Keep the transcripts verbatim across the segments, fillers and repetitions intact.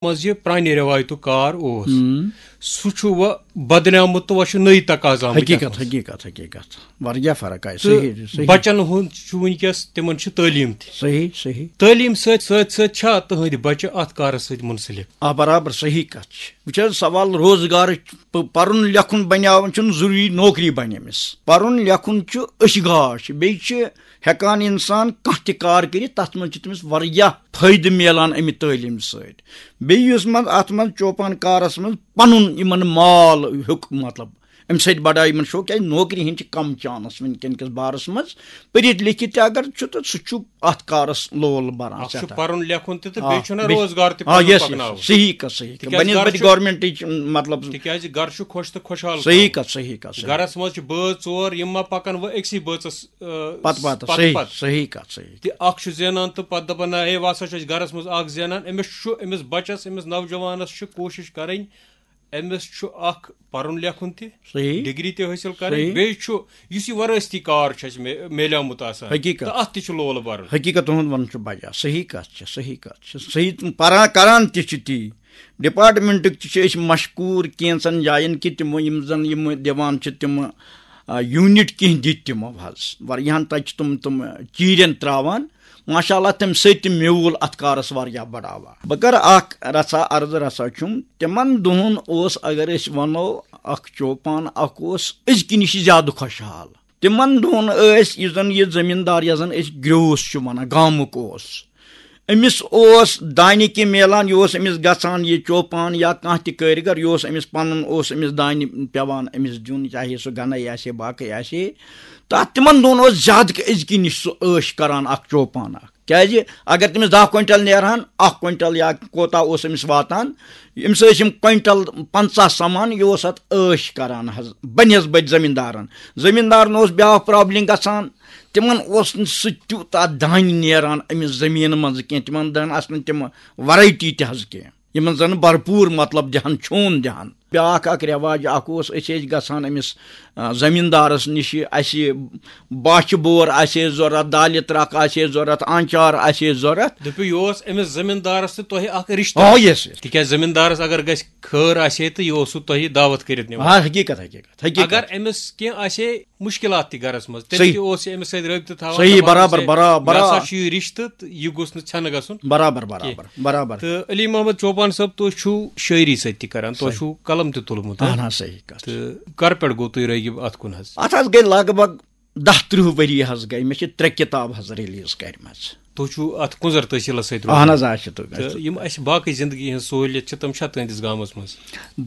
منٛز یہِ پرٛانہِ رٮ۪وایتُک کار اوس، ہم۔ سُہ چھُ وۄنۍ بدلیومُت تہٕ وۄنۍ چھُ نٔے تقاضہٕ آمٕتۍ اَتھ حقیٖقت، منٛز۔ حقیٖقت، حقیٖقت۔ واریاہ فرق آیہِ، تہٕ صحیح، صحیح۔ بچن ہُنٛد چھُ وٕنکیٚس، تِمن چھِ تعلیٖم تہِ۔ صحیح، صحیح۔ تعلیٖم سۭتۍ، سۭتۍ، سۭتۍ چھا تُہنٛدۍ بچہِ اَتھ کارس سۭتۍ منسلک؟ آ، برابر صحیح کَتھ چھِ۔ وٕچھ حظ، سوال روزگارٕچ، پ-، پَرُن لیکھُن بنیاوُن چھُنہٕ ضروٗری نوکری بنہِ أمِس۔ پَرُن لیکھُن چھُ أچھ گاش، بیٚیہِ چھِ ہٮ۪کان اِنسان کانٛہہ تہِ کار کٔرِتھ، تَتھ منٛز چھِ تٔمِس واریاہ فٲیدٕ میلان اَمہِ تعلیٖمہِ سۭتۍ۔ بیٚیہِ یُس منٛز اَتھ منٛز چوپان کارَس منٛز پَنُن یِمَن مال ہیوٚک، مطلب، اَمہِ سۭتۍ بڑایہِ یِمَن شوق، کیٛازِ نوکری ہِنٛدۍ چھِ کَم چانس وٕنکٮ۪ن کِس بارَس منٛز۔ پٔرِتھ لیکھِتھ تہِ اگر چھُ، تہٕ سُہ چھُ اَتھ کارَس لول بَران اَکھ چھُ سٮ۪ٹھاہ۔ پَرُن لیکھُن تہِ تہٕ آ، بیٚیہِ چھُنہ بیٚیہِ روزگار تہِ آ، پَنُن yes، yes، پَکناوُن۔ صحیح کَتھ، صحیح کَتھ۔ تِکیٛازِ بَنِسبَتہِ گَرٕ چھُ، گورمٮ۪نٹٕچ، مطلب، تِکیٛازِ گَرٕ چھُ خۄش تہٕ خۄشحال صحیح تھاوُن۔ کَتھ، صحیح کَتھ، صحیح۔ گَرَس منٛز چھِ بٲژ ژور، یِم ما پَکَن وۄنۍ أکسٕے بٲژَس، آ، پَتہٕ پَتہٕ، پَتہٕ صحیح، پَتہٕ۔ صحیح کَتھ، صحیح۔ تہِ اَکھ چھُ زینان تہٕ پَتہٕ دَپان، نہ، ہے، وۄنۍ ہسا چھُ اَسہِ گَرَس منٛز اَکھ زینان، أمِس چھُ، أمِس بَچَس، أمِس نوجوانَس چھُ کوٗشِش کَرٕنۍ، أمِس چھُ اَکھ پَرُن لیکھُن تہِ، صحیح۔ ڈگری تہِ حٲصِل کَرٕنۍ، صحیح۔ بیٚیہِ چھُ یُس یہِ وَرٲثتی کار چھُ اَسہِ مے-، میلیومُت آسان، حقیٖقت۔ تہٕ اَتھ تہِ چھُ لول بَرُن۔ حقیٖقت تُہُنٛد وَنُن چھُ بَجان، صحیح کَتھ چھِ، صحیح کَتھ چھِ، صحیح۔ تِم پَران کَران تہِ چھِ تی، ڈپارٹمنٹٕکۍ تہِ چھِ أسۍ مشکوٗر کینٛژَن جایَن کہِ تِمو یِم زَن یِم دِوان چھِ تِم، آ، یوٗنِٹ کینٛہہ دِتۍ تِمو حظ، واریاہَن تَتہِ چھِ تِم، تِم چیٖرٮ۪ن ترٛاوان۔ ماشاء اللہ، تَمہِ سۭتۍ تہِ میوٗل اَتھ کارَس واریاہ بڑاوا۔ بہٕ کَرٕ اَکھ رژھا عرض، رژھا چھُم۔ تِمَن دۄہَن اوس، اگر أسۍ وَنو، اَکھ چوپان اَکھ اوس أزکہِ نِش زیادٕ خۄشحال۔ تِمَن دۄہَن ٲسۍ، یُس زَن یہِ زٔمیٖندار، یَتھ زَن أسۍ گرٛوٗس چھِ وَنان، گامُک اوس، أمِس اوس دانہِ کہِ میلان، یہِ اوس أمِس گژھان، یہِ چوپان یا کانٛہہ تہِ کٲرِگر، یہِ اوس أمِس پَنُن، اوس أمِس دانہِ پٮ۪وان أمِس دیُن، چاہے سُہ گَنے آسہِ ہے، باقٕے آسہِ ہے۔ تہٕ اَتھ تِمَن دۄہَن اوس زیادٕ أزکہِ نِش سُہ عٲش کَران اَکھ چوپان اَکھ۔ کیٛازِ اگر تٔمِس دَہ کوینٹل نیرہَن، اَکھ کوینٹل یا کوتاہ اوس أمِس واتان، أمِس ٲسۍ یِم کوینٹل پنٛژاہ سَمان، یہِ اوس اَتھ عٲش کَران حظ بَنسبَتہِ زٔمیٖندارَن۔ زٔمیٖندارَن اوس بیٛاکھ پرابلِم گژھان، تِمَن اوس نہٕ سُہ تیوٗتاہ دانہِ نیران أمِس زٔمیٖنہٕ منٛزٕ کینٛہہ، تِمَن دَہَن آسہٕ نہٕ تِم ویرایٹی تہِ حظ کینٛہہ، یِمَن زَن بھرپوٗر، مطلب، دِہَن چھون دِہَن۔ بیٛاکھ اَکھ رٮ۪واج اَکھ اوس، أسۍ ٲسۍ گژھان أمِس، آ، زٔمیٖندارَس نِش، اَسہِ باچھِ بور آسہِ ہے ضوٚرَتھ، دالہِ ترٛکھ آسہِ ہے ضوٚرَتھ، آنچار آسہِ ہے ضوٚرَتھ۔ دٔپِو، یہِ اوس أمِس زٔمیٖندارَس تہٕ تۄہہِ اَکھ رِشتہٕ۔ آ، yes، yes۔ تِکیٛازِ زٔمیٖندارَس اگر گژھِ خٲر آسہِ ہے تہٕ یہِ اوسوٕ تۄہہِ دعوت کٔرِتھ نِوان۔ آ، حقیٖقت، حقیٖقت، حقیٖقت۔ اگر أمِس کینٛہہ آسہِ ہے مُشکِلات تہِ گَرَس منٛز، تیٚلہِ صحیح۔ تہِ اوس یہِ أمِس سۭتۍ رٲبطہٕ تھاوان، صحیح، دَپان برابر، اوس ہے، برابر، مےٚ ہسا برابر۔ چھُ یہِ رِشتہٕ تہٕ یہِ گوٚژھ نہٕ ژھٮ۪نہٕ گژھُن۔ برابر، برابر، کینٛہہ۔ برابر۔ تہٕ علی محمد چوپان صٲب، تُہۍ چھِو شٲعری سۭتۍ تہِ کران، تۄہہِ صحیح۔ چھُو قلم تہِ تُلمُت، ہاں؟ اہن حظ، صحیح کَتھ۔ تہٕ کر پٮ۪ٹھ گوٚو تُہۍ رٲغب اَتھ کُن حظ؟ اَتھ حظ گٔے لگ بگ دَہ تٕرٛہ ؤری حظ گٔے، مےٚ چھِ ترٛےٚ کِتاب حظ ریلیٖز کٔرمٕژ۔ تُہۍ چھُو اَتھ کُنزر تحصیٖلَس سۭتۍ روزان؟ اہن حظ، آ، چھِ تُہۍ تہٕ یِم اَسہِ باقٕے زِندگی ہٕنٛز سہوٗلیت چھِ، تِم چھا تُہٕنٛدِس گامَس منٛز؟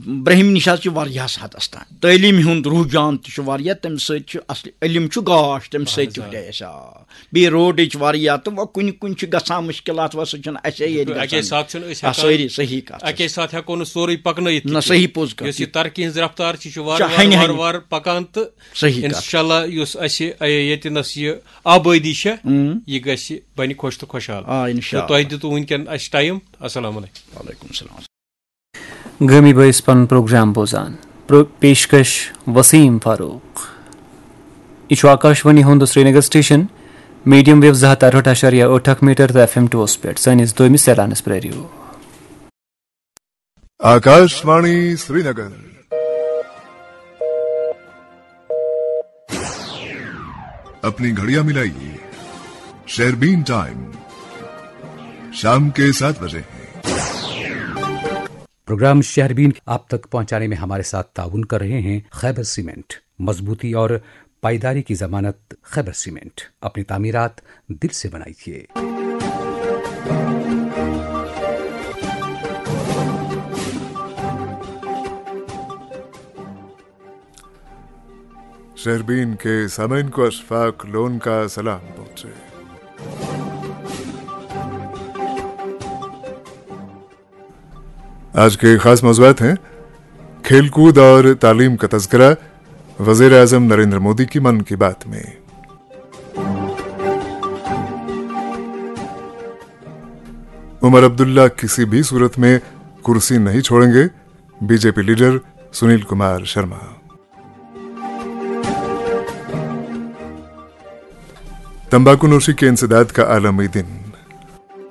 برٛہمہِ نِش حظ چھِ واریاہَس حدَس تام۔ تعلیٖم ہُنٛد رُجحان تہِ چھُ واریاہ، تَمہِ سۭتۍ چھُ اَصلی علم چھُ گاش، تَمہِ اہن سۭتۍ حظ، تہِ آ۔ ہُرے اَسہِ، آ۔ بیٚیہِ روڈٕچ واریاہ، تہٕ وۄنۍ کُنہِ کُنہِ چھِ گژھان مُشکِلات، وۄنۍ سُہ چھُنہٕ اَسے ییٚتہِ اَکے گژھان۔ ساتہٕ چھُنہٕ أسۍ آ، ہٮ۪کان، سٲری صحیح کَتھ اَکے چھِ۔ ساتہٕ ہٮ۪کو نہٕ سورُے پَکنٲیِتھ نہ، تہِ۔ صحیح پوٚز کَتھ یۄس چھِ۔ یہِ ترقی ہٕنٛز رفتار چھِ، چھِ وارٕ چھِ وارٕ، ہَنہِ وارٕ ہَنہِ۔ وارٕ پَکان تہٕ صحیح کَتھ۔ اِنشاءاللہ یُس اَسہِ، اَ، ییٚتہِ نَس یہِ آبٲدی چھےٚ، اۭں۔ یہِ گژھِ، بَنہِ خۄش تہٕ خۄشحال۔ آ، اِنشاءاللہ۔ تہٕ تۄہہِ دِتوٕ وٕنکٮ۪ن اَسہِ ٹایم۔ السلام علیکم۔ وعلیکم السلام۔ گٲمی بٲیِس پنُن پروگرام بوزان۔ پرو-، پیشکش وسیم فاروق۔ یہِ چھُ آکاشوانی ہُنٛد سرینگر سٹیشن، میڈیم ویو زٕ ہَتھ تہٕ اَرہٲٹھ اَشاریہ ٲٹھ اکھ میٹر تہٕ ایف ایم ٹوس پٮ۪ٹھ۔ سٲنِس دوٚیمِس اعلانَس پرٛٲرِو۔ آکاشوانی سرینگر۔ اپنی گھڑیاں ملائیے، شہربین ٹائم شام کے سات بجے ہیں۔ پروگرام شہربین آپ تک پہنچانے میں ہمارے ساتھ تعاون کر رہے ہیں خیبر سیمنٹ، مضبوطی اور پائیداری کی ضمانت۔ خیبر سیمنٹ، اپنی تعمیرات دل سے بنائیے۔ شہربین کے سامعین کو اشفاق لون کا سلام پہنچے۔ آج کے خاص موضوعات ہیں: کھیل کود اور تعلیم کا تذکرہ، وزیر اعظم نریندر مودی کی من کی بات میں۔ عمر عبداللہ کسی بھی صورت میں کرسی نہیں چھوڑیں گے، B J P leader Sunil Kumar Sharma. تمباکو نوشی کے انسداد کا عالمی دن،